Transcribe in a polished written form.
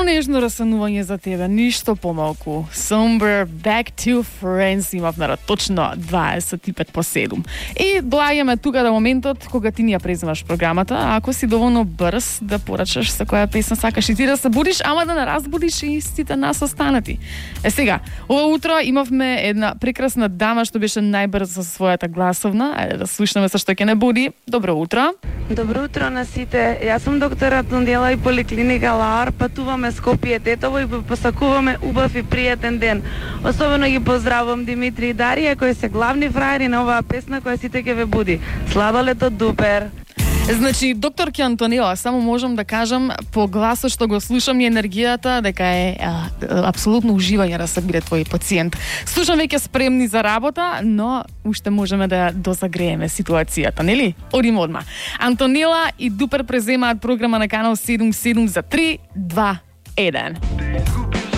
нежно расанување за тебе, ништо помалку. Somber Back to Friends имав на точно 25 по 7. И доаѓаме тука до моментот кога ти ни ја преземаш програмата, а ако си доволно брз да порачаш со која песна сакаш и ти да се будиш, ама да не разбудиш и сите нас останати. Сега, ова утро имавме една прекрасна дама што беше најбрза со својата гласовна. Ајде да слушнеме со што ќе не буди. Добро утро. Добро утро на сите. Јас сум доктор Антонела и поликлиника Лаар. Патуваме Скопје, Тетово и посакуваме убав и пријатен ден. Особено ги поздравувам Димитри и Дарија кои се главни фраери на оваа песна која сите ќе ве буди. Сладолето дупер. Значи, докторки Антонела, само можам да кажам по гласот што го слушам и енергијата дека е апсолутно уживање да се биде твој пациент. Слушам веќе спремни за работа, но уште можеме да дозагрееме ситуацијата, нели? Одиме одма. Антонела и Дупер преземаат програма на канал 77 за 3, 2, 1.